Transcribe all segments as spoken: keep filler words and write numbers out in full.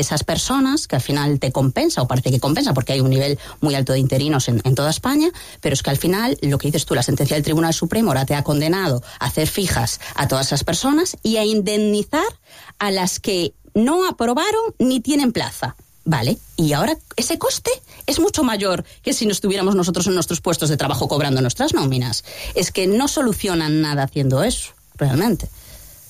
esas personas, que al final te compensa, o parece que compensa, porque hay un nivel muy alto de interinos en, en toda España, pero es que al final, lo que dices tú, la sentencia del Tribunal Supremo ahora te ha condenado a hacer fijas a todas esas personas y a indemnizar a las que no aprobaron ni tienen plaza. Vale, y ahora ese coste es mucho mayor que si nos estuviéramos nosotros en nuestros puestos de trabajo cobrando nuestras nóminas. Es que no solucionan nada haciendo eso, realmente.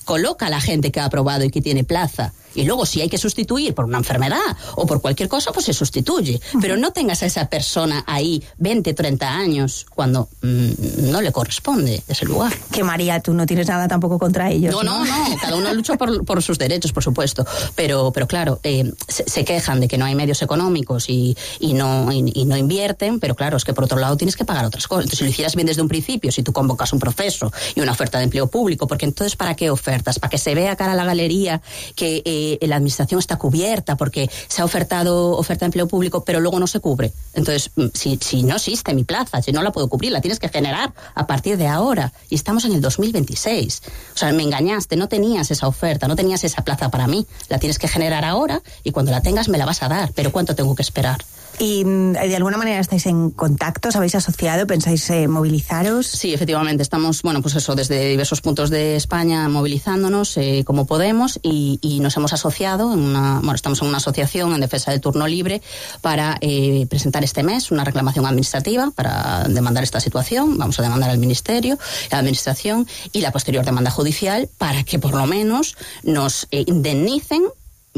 Coloca a la gente que ha aprobado y que tiene plaza. Y luego, si hay que sustituir por una enfermedad o por cualquier cosa, pues se sustituye. Pero no tengas a esa persona ahí veinte, treinta años cuando mmm, no le corresponde ese lugar. Que María, tú no tienes nada tampoco contra ellos. No, no, no. no. Cada uno lucha por, por sus derechos, por supuesto. Pero, pero claro, eh, se, se quejan de que no hay medios económicos y, y, no, y, y no invierten. Pero claro, es que por otro lado tienes que pagar otras cosas. Entonces, si lo hicieras bien desde un principio, si tú convocas un proceso y una oferta de empleo público, porque entonces, ¿para qué ofertas? Para que se vea cara a la galería que eh, la administración está cubierta porque se ha ofertado oferta de empleo público, pero luego no se cubre. Entonces, si, si no existe mi plaza, si no la puedo cubrir, la tienes que generar a partir de ahora. Y estamos en el dos mil veintiséis. O sea, me engañaste, no tenías esa oferta, no tenías esa plaza para mí. La tienes que generar ahora y cuando la tengas me la vas a dar. Pero ¿cuánto tengo que esperar? ¿Y de alguna manera estáis en contacto? ¿Os habéis asociado? ¿Pensáis eh, movilizaros? Sí, efectivamente. Estamos, bueno, pues eso, desde diversos puntos de España movilizándonos eh, como podemos y, y nos hemos asociado en una, bueno, estamos en una asociación en defensa del turno libre para eh, presentar este mes una reclamación administrativa para demandar esta situación. Vamos a demandar al Ministerio, la Administración y la posterior demanda judicial para que por lo menos nos eh, indemnicen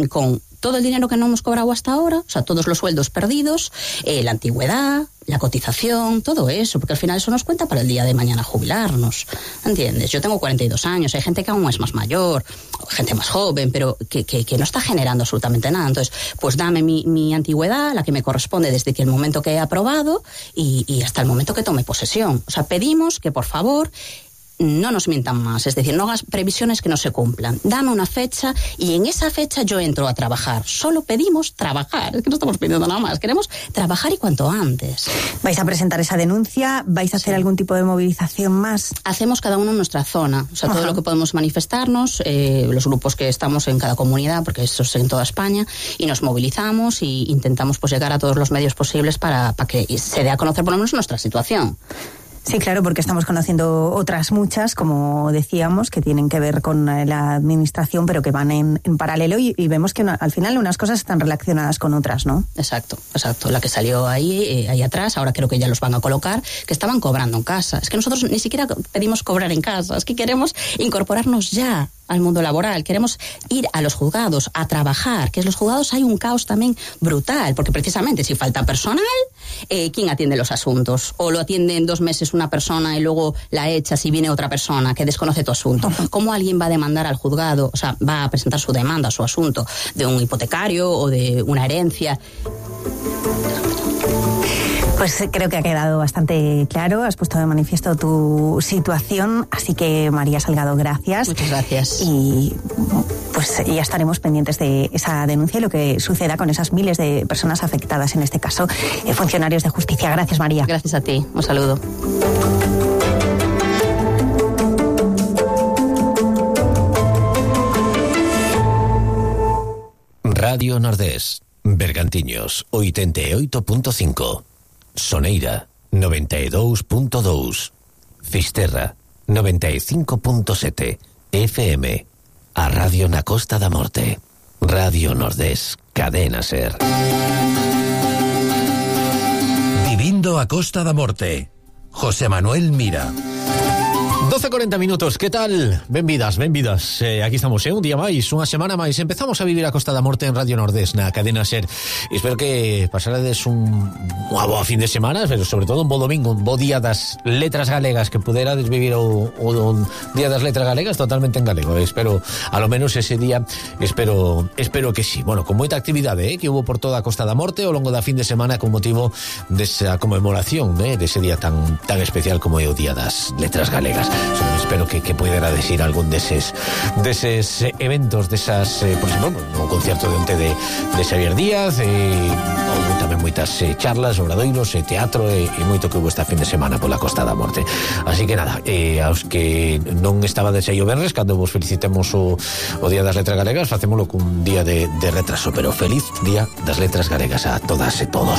con todo el dinero que no hemos cobrado hasta ahora, o sea, todos los sueldos perdidos, eh, la antigüedad, la cotización, todo eso, porque al final eso nos cuenta para el día de mañana jubilarnos, ¿entiendes? Yo tengo cuarenta y dos años, hay gente que aún es más mayor, gente más joven, pero que, que, que no está generando absolutamente nada. Entonces, pues dame mi, mi antigüedad, la que me corresponde desde que el momento que he aprobado y, y hasta el momento que tome posesión. O sea, pedimos que, por favor, no nos mientan más, es decir, no hagas previsiones que no se cumplan. Dame una fecha y en esa fecha yo entro a trabajar. Solo pedimos trabajar, es que no estamos pidiendo nada más, queremos trabajar y cuanto antes. ¿Vais a presentar esa denuncia? ¿Vais a hacer sí. algún tipo de movilización más? Hacemos cada uno en nuestra zona, o sea, Ajá. todo lo que podemos manifestarnos, eh, los grupos que estamos en cada comunidad, porque eso es en toda España, y nos movilizamos y intentamos pues llegar a todos los medios posibles para, para que se dé a conocer por lo menos nuestra situación. Sí, claro, porque estamos conociendo otras muchas, como decíamos, que tienen que ver con la administración, pero que van en, en paralelo y, y vemos que una, al final unas cosas están relacionadas con otras, ¿no? Exacto, exacto. La que salió ahí, eh, ahí atrás, ahora creo que ya los van a colocar, que estaban cobrando en casa. Es que nosotros ni siquiera pedimos cobrar en casa, es que queremos incorporarnos ya al mundo laboral, queremos ir a los juzgados a trabajar, que en los juzgados hay un caos también brutal, porque precisamente si falta personal, eh, ¿quién atiende los asuntos? O lo atiende en dos meses una persona y luego la echas y viene otra persona que desconoce tu asunto. ¿Cómo alguien va a demandar al juzgado, o sea, va a presentar su demanda, su asunto de un hipotecario o de una herencia? Pues creo que ha quedado bastante claro, has puesto de manifiesto tu situación, así que María Salgado, gracias. Muchas gracias. Y pues ya estaremos pendientes de esa denuncia y lo que suceda con esas miles de personas afectadas, en este caso, eh, funcionarios de justicia. Gracias, María. Gracias a ti, un saludo. Radio Nordés, Bergantiños, oitenta e oito punto cinco. Soneira, noventa e dous punto dous. Fisterra, noventa e cinco punto sete. F M. A Radio na Costa da Morte. Radio Nordés, Cadena Ser. Vivindo a Costa da Morte. José Manuel Mira. doce e corenta minutos, que tal? Benvidas, benvidas. Eh, aquí estamos, eh, un día máis, unha semana máis. Empezamos a vivir a Costa da Morte en Radio Nordés, na Cadena Ser. E espero que pasarades un unha boa fin de semana, pero sobre todo un bo domingo, un bo día das letras galegas, que puderades vivir o, o un día das letras galegas totalmente en galego. Espero, a lo menos ese día, espero espero que sí. Bueno, con moita actividade, eh, que hubo por toda a Costa da Morte ao longo da fin de semana con motivo desa conmemoración, eh, dese día tan tan especial como é o Día das Letras Galegas. Solo espero que, que pudiera decir algún deses deses eventos, desas, eh, por exemplo, un concierto de onte de, de Xavier Díaz, e houve tamén moitas eh, charlas, obradoiros, e teatro, e, e moito que houve esta fin de semana pola Costa da Morte. Así que nada, eh, aos que non estaba de xeio venres, cando vos felicitemos o, o Día das Letras Galegas, facémolo cun día de, de retraso, pero feliz Día das Letras Galegas a todas e todos.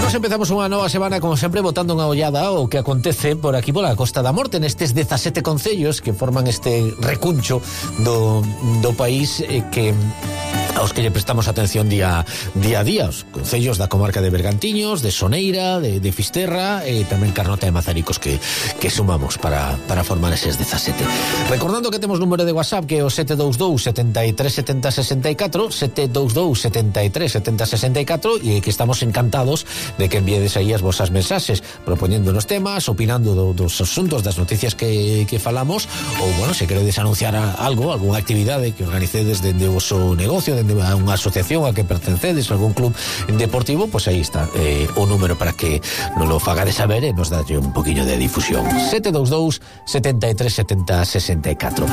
Nos empezamos unha nova semana, como sempre, botando unha ollada o que acontece por aquí pola Costa da Morte, nestes dezasete concellos que forman este recuncho do, do país, eh, que aos que lle prestamos atención día, día a día, os concellos da comarca de Bergantiños, de Soneira, de, de Fisterra e tamén Carnota e Mazaricos que, que sumamos para, para formar eses dezasete. Recordando que temos número de WhatsApp que é o sete dous dous, sete tres, sete zero, seis catro, sete dous dous, sete tres, sete zero, seis catro, e que estamos encantados de que enviedes aí as vosas mensaxes propoñendo nos temas, opinando do, dos asuntos, das noticias que, que falamos, ou, bueno, se queredes anunciar a, algo, algunha actividade que organicedes dende o vosso negocio, dende a unha asociación a que pertencedes, algún club deportivo, pois aí está eh, o número para que nos lo fagades saber e nos dalle un poquinho de difusión. sete dous dous, sete tres, sete zero, seis catro.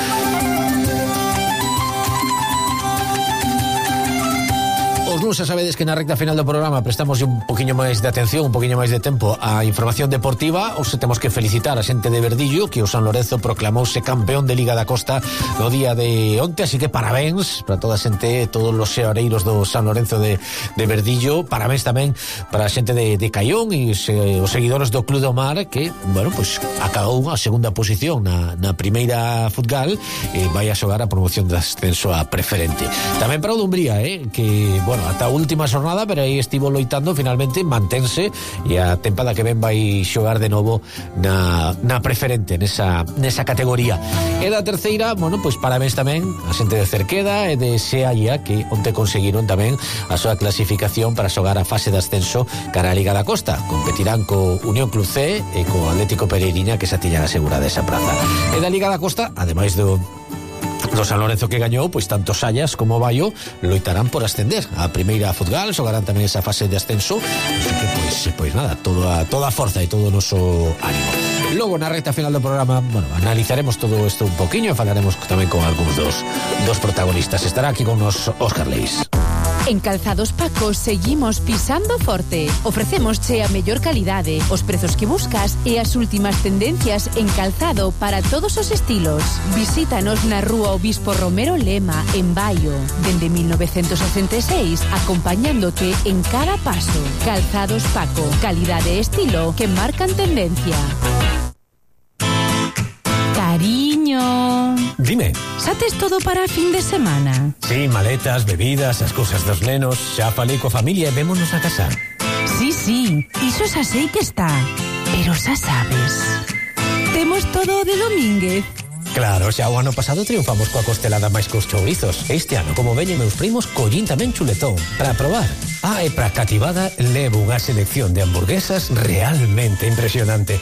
Xa sabedes que na recta final do programa prestamos un poquinho máis de atención, un poquinho máis de tempo á información deportiva. Os temos que felicitar a xente de Verdillo, que o San Lorenzo proclamouse campeón de Liga da Costa no día de onte, así que parabéns para toda a xente, todos os xeareiros do San Lorenzo de, de Verdillo. Parabéns tamén para a xente de, de Caión e os, eh, os seguidores do Club do Mar, que, bueno, pues acabou a segunda posición na, na primeira futgal e vai a xogar a promoción de ascenso a preferente. Tamén para o Dumbría, eh, que, bueno, ata a última xornada, pero aí estivo loitando, finalmente mantense, e a tempada que ven vai xogar de novo na, na preferente, nesa, nesa categoría. E da terceira, bueno, pois parabéns tamén a xente de Cerqueda e de Sealla, que onte conseguiron tamén a súa clasificación para xogar a fase de ascenso cara a Liga da Costa. Competirán co Unión Club C e co Atlético Pereiriña, que xa tiñan asegurada esa praza. E da Liga da Costa, ademais do do San Lorenzo que gañou, pois tanto Sallas como Baio loitarán por ascender a primeira futgal, xogarán tamén esa fase de ascenso, así que pois, pois nada, toda, toda a forza e todo o noso ánimo. Logo na recta final do programa, bueno, analizaremos todo isto un poquinho e falaremos tamén con algúns dos, dos protagonistas. Estará aquí con nos Óscar Leis. En Calzados Paco seguimos pisando forte. Ofrecémosche a mellor calidade, os prezos que buscas e as últimas tendencias en calzado para todos os estilos. Visítanos na Rúa Obispo Romero Lema, en Baio, dende mil novecentos sesenta e seis, acompañándote en cada paso. Calzados Paco, calidade e estilo que marcan tendencia. Cariño. Dime. Xa tes todo para a fin de semana? Sí, maletas, bebidas, as cousas dos nenos. Xa falei coa familia e vémonos a casar. Sí, sí, iso xa sei que está. Pero xa sabes, temos todo de Domínguez. Claro, xa o ano pasado triunfamos coa costelada máis cos chourizos. Este ano, como veñen meus primos, collín tamén chuletón para probar. Ah, e para cativada levo unha selección de hamburguesas realmente impresionante.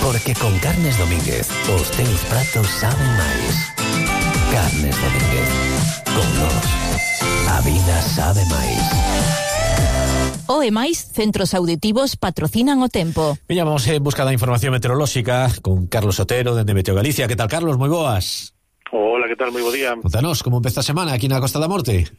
Porque con Carnes Domínguez os teus pratos saben máis. Carnes Domínguez. Con nós, a vida sabe máis. O e máis centros auditivos patrocinan o tempo. Viña, vamos en busca da información meteorolóxica con Carlos Otero, dende Meteo Galicia. Que tal, Carlos? Moi boas. Hola, que tal? Moi bo día. Contanos, como empeza a semana aquí na Costa da Morte?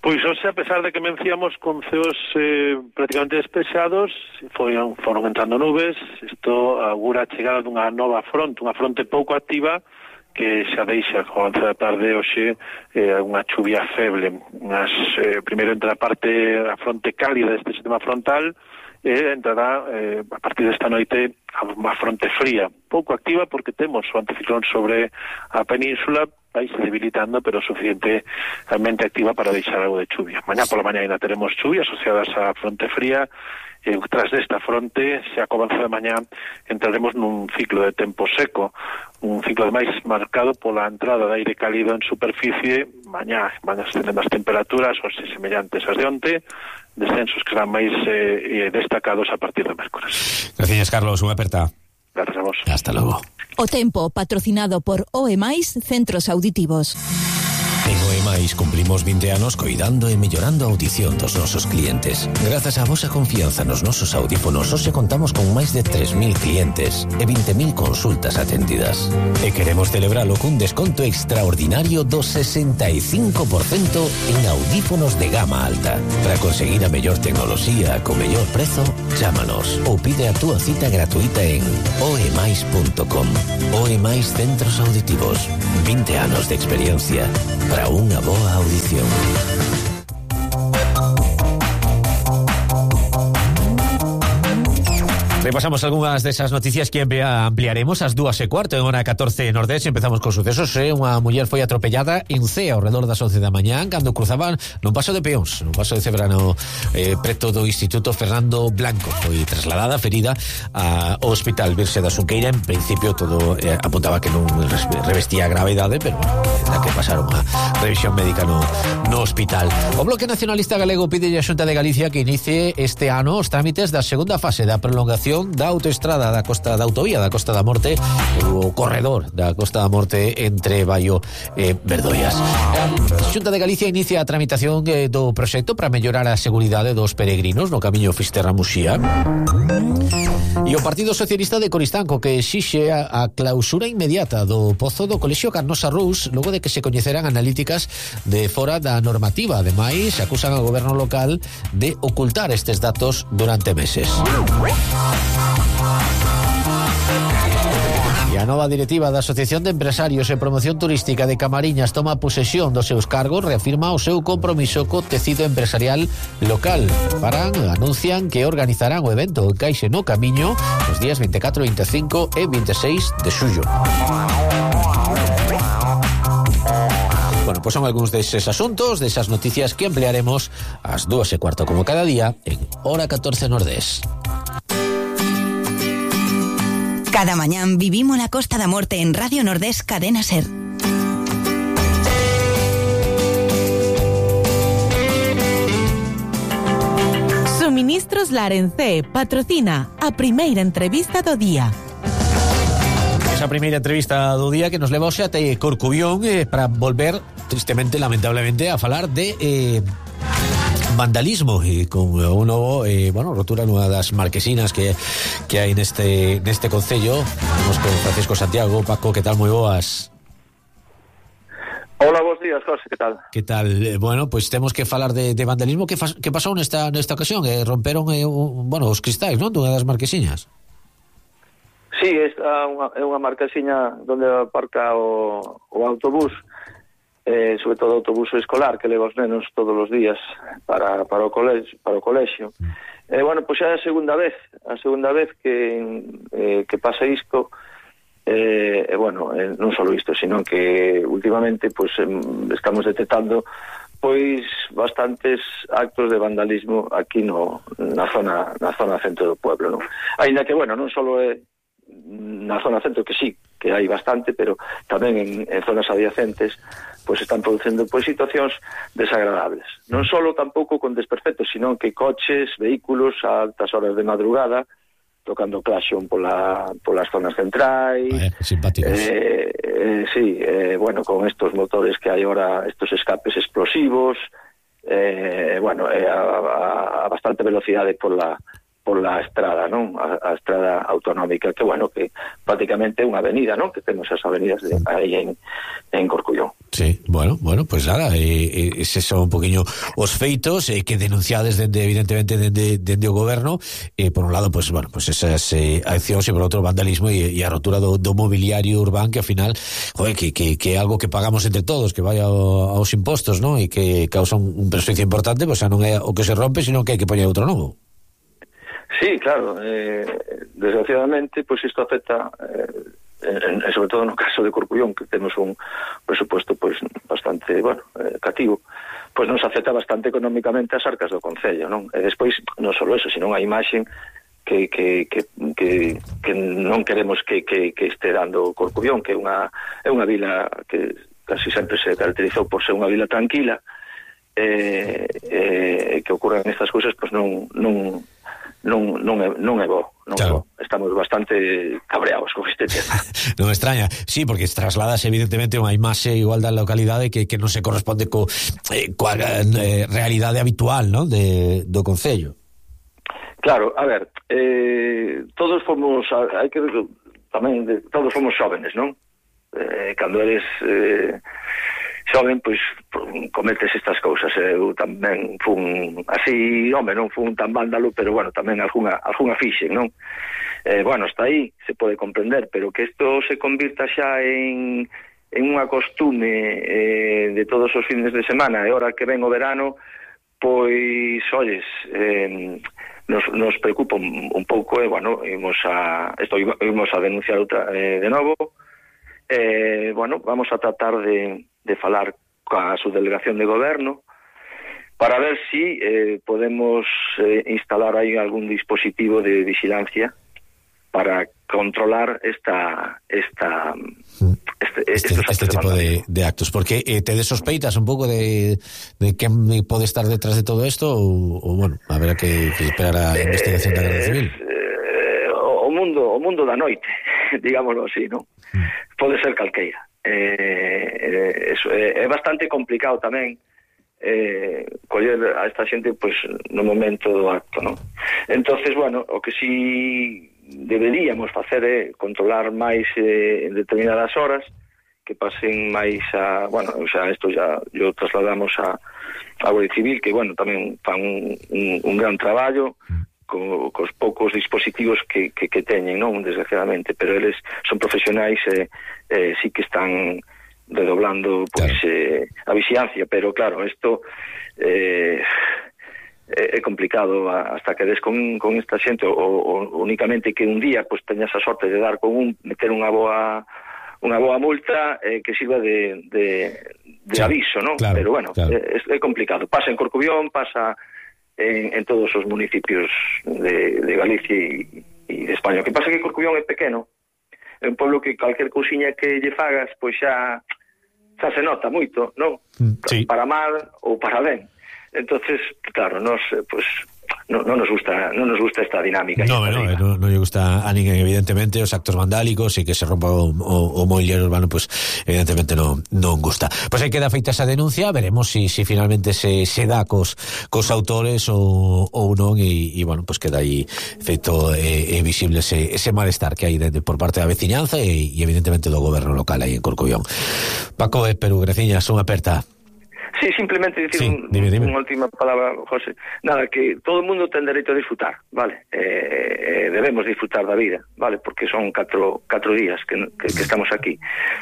Pois hoxe, a pesar de que menciamos con ceos eh, prácticamente despexados, foron, foron entrando nubes. Isto augura a chegada dunha nova fronte, unha fronte pouco activa, que xa deixa co avance da tarde hoxe eh, unha chuvia feble. Unhas, eh, primeiro entra a parte, a fronte cálida deste sistema frontal, e entrará eh, a partir desta noite a unha fronte fría, pouco activa porque temos o anticiclón sobre a península, vai se debilitando, pero suficientemente activa para deixar algo de chuvia. Mañá pola mañá ainda teremos chuvia asociadas á fronte fría, e tras desta fronte, xa co avance de mañá, entraremos nun ciclo de tempo seco, un ciclo máis marcado pola entrada de aire cálido en superficie. Mañá van a estender as temperaturas, ou se semellantes as de onte, descensos que serán máis eh, destacados a partir de mércores. Gracias, Carlos, unha aperta. Gracias a vos. Hasta logo. O tempo, patrocinado por O E máis Centros Auditivos. En Oemais cumplimos vinte anos coidando e mellorando a audición dos nosos clientes. Grazas á vosa confianza nos nosos audífonos, hoxe contamos con máis de tres mil clientes e vinte mil consultas atendidas. E queremos celebralo cun desconto extraordinario do sesenta e cinco por cento en audífonos de gama alta. Para conseguir a mellor tecnoloxía co mellor prezo, chámanos ou pide a túa cita gratuita en oemais punto com. Oemais Centros Auditivos. vinte anos de experiencia para unha boa audición. Repasamos algunhas desas noticias que ampliaremos ás dúas e cuarto en hora catorce Nordés. Empezamos con sucesos. Eh? Unha muller foi atropellada en Cea ao redor das once da mañá cando cruzaban nun paso de peóns, nun paso de Cebrano, eh, preto do Instituto Fernando Blanco. Foi trasladada ferida ao Hospital Virxe da Xunqueira. En principio todo eh, apuntaba que non revestía gravedade, pero era que pasaron a revisión médica no, no hospital. O Bloque Nacionalista Galego pide a Xunta de Galicia que inicie este ano os trámites da segunda fase da prolongación da autoestrada da Costa da Autovía da Costa da Morte, o corredor da Costa da Morte entre Baio e Verdoias. A Xunta de Galicia inicia a tramitación do proxecto para mellorar a seguridade dos peregrinos no camiño Fisterra-Muxía. E o Partido Socialista de Coristanco que exixe a, a clausura inmediata do pozo do Colexio Carnosa Rous logo de que se coñeceran analíticas de fora da normativa. Ademais, acusan ao goberno local de ocultar estes datos durante meses. E a nova directiva da Asociación de Empresarios e Promoción Turística de Camariñas toma posesión dos seus cargos, reafirma o seu compromiso co tecido empresarial local. Paran, anuncian que organizarán o evento en Caixe no Camiño os días vinte e catro, vinte e cinco e vinte e seis de xullo. Bueno, pois son algúns deses asuntos, desas noticias que emplearemos ás dúas e cuarto como cada día en hora catorce Nordés. Cada mañán vivimos la Costa da Morte en Radio Nordés Cadena Ser. Suministros Larencé patrocina a primeira entrevista do día. Esa primeira entrevista do día que nos leva hoxe até Corcubión eh, para volver, tristemente, lamentablemente, a falar de... Eh, vandalismo e con un novo eh, bueno, rotura nunha das marquesinas que que hai neste neste concello. Vamos con Francisco Santiago. Paco, que tal? Moi boas. Hola, bons días, José, que tal? Que tal? Eh, bueno, pois pues temos que falar de, de vandalismo. Que, fa, que pasou nesta nesta ocasión? Eh, romperon eh, un, bueno, os cristais, non? Dunha das marquesiñas. Sí, esta é unha, é unha marquesiña onde aparca o, o autobús, eh, sobre todo o autobús escolar que leva os nenos todos os días para, para o colexio, para o colexio. Eh, bueno, pois é a segunda vez, a segunda vez que eh, que pasa isto. Eh, eh, bueno, eh, non só isto, sino que últimamente pois eh, estamos detectando pois bastantes actos de vandalismo aquí no na zona na zona centro do pueblo, non? Aínda que bueno, non só é na zona centro, que sí, que hai bastante, pero tamén en, en zonas adyacentes pois están producendo pois situacións desagradables. Non só tampouco con desperfectos, sino que coches, vehículos a altas horas de madrugada tocando claxon pola, polas zonas centrais. Vaya, simpáticos. Eh, eh, sí, eh, bueno, con estos motores que hai ahora, estos escapes explosivos, eh, bueno, eh, a, a bastante velocidade pola pola estrada, non? A, a estrada autonómica, que, bueno, que prácticamente é unha avenida, non? Que temos as avenidas de, aí en, en Corcullón. Sí, bueno, bueno, pues nada, eh, eh, ese son un poquinho os feitos eh, que denunciades dende, evidentemente, dende, dende o goberno, eh, por un lado, pues, bueno, pues esas eh, accións e por outro vandalismo e, e a rotura do, do mobiliario urbán, que ao final, joder, que, que, que é algo que pagamos entre todos, que vai ao, aos impostos, non? E que causa un, un perjuicio importante, pues xa non é o que se rompe, sino que hai que poñer outro novo. Sí, claro, eh, desgraciadamente, pois pues isto afecta, eh, en, en, sobre todo no caso de Corcullón, que temos un presupuesto pois pues, bastante, bueno, eh, cativo, pois pues nos afecta bastante económicamente as arcas do concello, non? E despois, non só eso, sino a imaxen que, que, que, que, que non queremos que, que, que este dando Corcullón, que é unha, é unha vila que casi sempre se caracterizou por ser unha vila tranquila, eh, eh, que ocorran estas cousas, pois pues non... non non non é non é bo, non claro. só. Estamos bastante cabreados con este tema. Non me extraña, sí, porque trasladas evidentemente unha imaxe igual da localidade que, que non se corresponde co, eh, coa eh, realidade habitual, non, de, do concello. Claro, a ver, eh, todos fomos, hai que tamén, de, todos fomos xóvenes, non? Eh, cando eres eh, xoven, pois cometes estas cousas. Eu tamén fun así, home, non fun tan vándalo, pero bueno, tamén algunha, algunha fixen, non? Eh, bueno, hasta aí se pode comprender, pero que isto se convirta xa en, en unha costume eh, de todos os fines de semana, e hora que ven o verano, pois, olles, eh, nos, nos preocupa un, un pouco, e, bueno, imos a, esto, imos a denunciar outra, eh, de novo. Eh, bueno, vamos a tratar de, de falar coa subdelegación de goberno para ver si eh, podemos eh, instalar aí algún dispositivo de vigilancia para controlar esta esta este, este, este tipo de, de actos, porque eh, te sospeitas un pouco de, de quen pode estar detrás de todo esto ou, ou bueno, habrá que, que esperar a eh, investigación da Guardia Civil. Eh, o mundo o mundo da noite, digámoslo así, non? Mm. Pode ser calqueira. Eh, eso, é, é bastante complicado tamén eh, coller a esta xente pois no momento do acto, non? Entonces, bueno, o que si deberíamos facer é controlar máis eh, en determinadas horas, que pasen máis a, bueno, o sea, isto ya yo trasladamos a a Guardia Civil, que bueno, tamén fan un, un, un gran traballo co, cos poucos dispositivos que, que, que teñen, non, desgraciadamente, pero eles son profesionais e eh, eh, sí que están redoblando pois claro. eh, a vixilancia, pero claro, isto eh, é complicado hasta que des con, con esta xente, o, o únicamente que un día pues teñas a sorte de dar con un, meter unha boa unha boa multa eh, que sirva de, de, de sí, aviso, non? Claro, pero bueno, claro. é, é complicado. Pasa en Corcubión, pasa en, en todos os municipios de, de Galicia e, e de España. O que pasa é que Corcubión é pequeno, é un pueblo que calquer cousiña que lle fagas, pois xa, xa se nota moito, non? Sí. Para mal ou para ben. Entonces, claro, nos pues no, no nos gusta, no nos gusta esta dinámica. No, no, no, no lle gusta a ninguén, evidentemente, os actos vandálicos e que se rompa o, o, o mobiliario urbano, pues evidentemente non non gusta. Pois aí queda feita esa denuncia, veremos si, si finalmente se, se dá cos, cos autores ou, ou non, e, e bueno, pues queda aí feito e, e visible ese, ese malestar que hai de, de, por parte da veciñanza e, e evidentemente do goberno local aí en Corcubión. Paco e Perú, graciñas, unha aperta. Sí, simplemente dicir sí, un, dime, dime. unha última palabra, José. Nada, que todo o mundo ten dereito a disfrutar, vale? Eh, debemos disfrutar da vida, vale? Porque son catro, catro días que, que, que estamos aquí.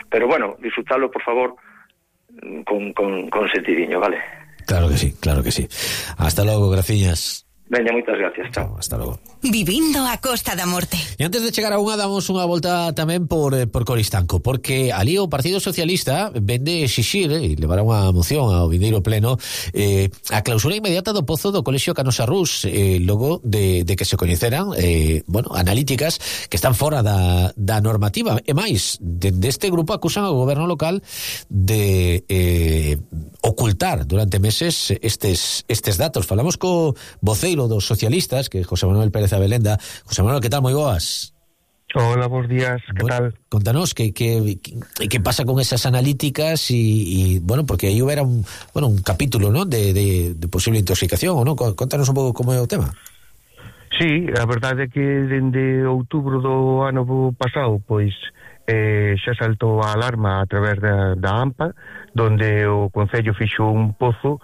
Pero bueno, disfrutarlo, por favor, con, con, con sentidiño, vale? Claro que sí, claro que sí. Hasta logo, graciñas. Veña, moitas gracias, chao. Hasta logo. Vivindo a Costa da Morte. E antes de chegar a unha, damos unha volta tamén por, por Coristanco, porque ali o Partido Socialista vende exixir e levará unha moción ao vindeiro pleno eh, a clausura inmediata do pozo do Colexio Canosa Rus, eh, logo de, de que se coñeceran eh, bueno, analíticas que están fora da, da normativa. E máis, dende este grupo acusan ao goberno local de eh, ocultar durante meses estes, estes datos. Falamos co voceiro dos socialistas, que é José Manuel Pérez Abelenda. José Manuel, que tal? Moi boas. Hola, bons días, que bueno, tal? Contanos que, que, que, que pasa con esas analíticas e, e bueno, porque aí hubiera un, bueno, un capítulo, ¿no?, de, de, de posible intoxicación, ou non? Contanos un pouco como é o tema. Sí, a verdade é que dende outubro do ano pasado, pois eh, xa saltou a alarma a través da, da AMPA, donde o Concello fixo un pozo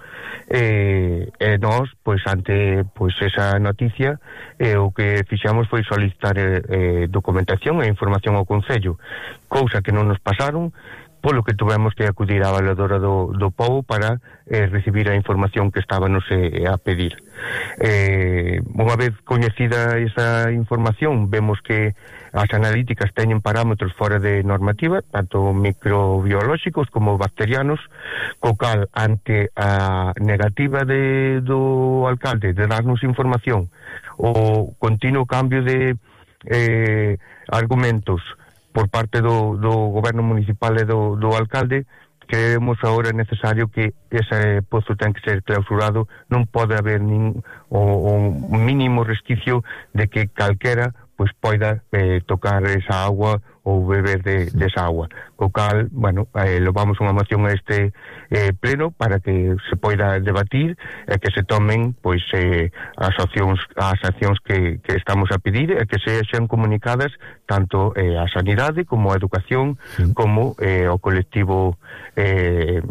e, e nós, pois ante pois esa noticia, eh, o que fixamos foi solicitar eh, documentación e información ao Concello, cousa que non nos pasaron, polo que tuvemos que acudir á valedora do, do povo para eh, recibir a información que estábamos eh, a pedir. Eh, unha vez coñecida esa información, vemos que as analíticas teñen parámetros fora de normativa, tanto microbiolóxicos como bacterianos, co cal, ante a negativa de, do alcalde de darnos información, o continuo cambio de eh, argumentos por parte do, do goberno municipal e do, do alcalde, creemos agora necesario que ese pozo ten que ser clausurado, non pode haber nin o, o mínimo resquicio de que calquera pois poida eh, tocar esa agua ou beber de, de esa agua. Co cal, bueno, eh, levamos unha moción a este eh, pleno para que se poida debatir e que se tomen pois eh, as accións as accións que, que estamos a pedir e que sexan comunicadas tanto eh, a sanidade como a educación, sí, como eh, o colectivo eh,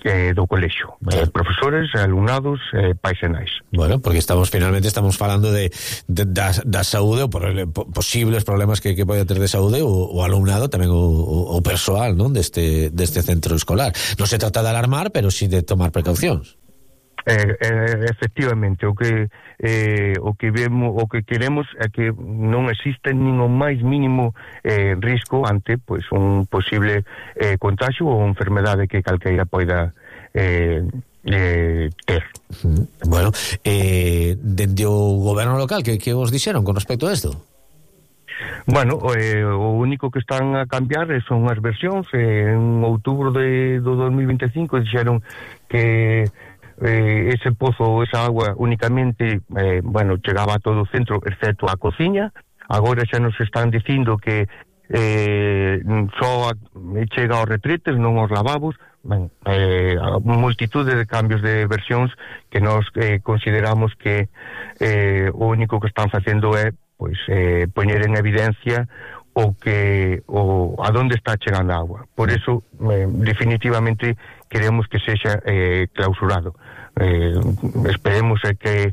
Eh, do colexio, eh, profesores, alumnados, eh, pais e nais. Bueno, porque estamos finalmente estamos falando de, de da, da saúde ou por, po, posibles problemas que, que pode ter de saúde o, o alumnado, tamén o, o, o persoal, non, deste deste centro escolar. Non se trata de alarmar, pero sí de tomar precaucións. Eh, eh, efectivamente, o que eh, o que vemos, o que queremos é que non existe nin o máis mínimo eh, risco ante pois un posible eh, contagio ou enfermedade que calqueira poida eh, eh, ter. Bueno, eh, dende o goberno local, que, que vos dixeron con respecto a isto? Bueno, eh, o único que están a cambiar son as versións. Eh, en outubro de, do dos mil vinte e cinco dixeron que Eh, ese pozo, esa agua únicamente eh, bueno, chegaba a todo o centro excepto a cociña. Agora xa nos están dicindo que eh, só a, chega aos retretes, non aos lavabos. Ben, eh, a multitude de cambios de versións que nos eh, consideramos que eh, o único que están facendo é pois eh, poñer en evidencia o que o a donde está chegando a agua. Por eso eh, definitivamente queremos que sexa eh, clausurado. Eh, esperemos eh, que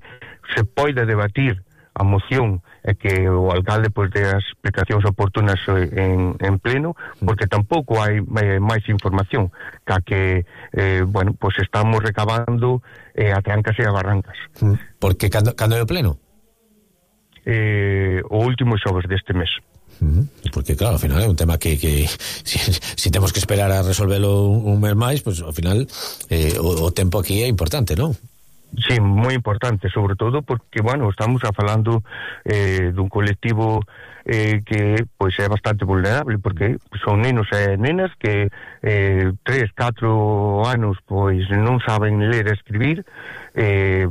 se poida debatir a moción e que o alcalde pois dé as explicacións oportunas en, en pleno, porque tampouco hai eh, máis información ca que eh, bueno, pois estamos recabando eh, a trancas e a barrancas. Porque cando, cando é o pleno? Eh, o último xoves deste mes. Porque claro, ao final é un tema que, que si, si temos que esperar a resolvelo un, un mes máis, pues ao final eh, o, o tempo aquí é importante, non? Sí, moi importante, sobre todo porque, bueno, estamos a falando eh, dun colectivo eh, que pois é bastante vulnerable, porque son nenos e nenas que eh, tres, catro anos pois non saben ler e escribir, eh,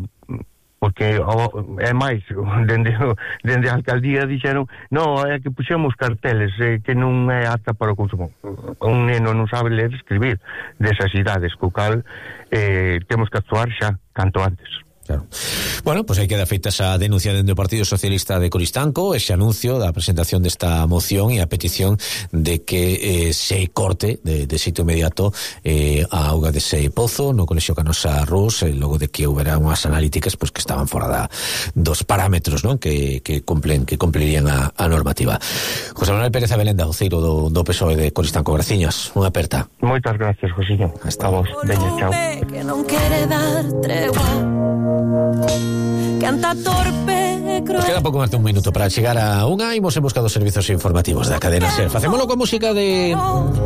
porque oh, é máis, dende, dende a alcaldía dixeron non, é que puxemos carteles eh, que non é apta para o consumo. Un neno non sabe ler e escribir desas idades, co cal eh, temos que actuar xa canto antes. Claro. Bueno, pues aí queda feita esa denuncia dentro do Partido Socialista de Coristanco, ese anuncio da presentación desta moción e a petición de que eh, se corte de, de sitio inmediato eh, a auga dese pozo no Colexio Canosa Rus, eh, logo de que houbera unhas analíticas pues, que estaban fora da, dos parámetros, non, que, que cumplen que cumplirían a, a normativa. José Manuel Pérez Abelenda, voceiro do, do P S O E de Coristanco. Graciñas, unha aperta. Moitas gracias, Josiño. Hasta vos. Veña, chao. Que non quere dar tregua. Canta torpe, Nos queda pouco máis de un minuto para chegar a unha. Imos en busca dos servizos informativos da cadena SER. Facémolo con música de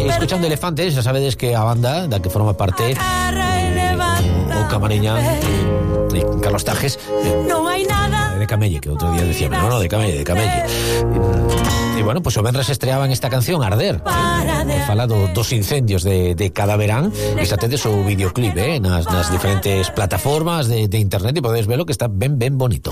Escuchando Elefantes. Xa sabedes que a banda da que forma parte o Camariña e Carlos Tajes de Camelle, que outro día decía, no, no, de Camelle, de Camelle. E bueno, pues o venres estreaban esta canción Arder, eh, falado dos incendios de, de cada verán. E xa tedes o videoclip eh, nas, nas diferentes plataformas de, de internet e podedes verlo, que está ben ben bonito.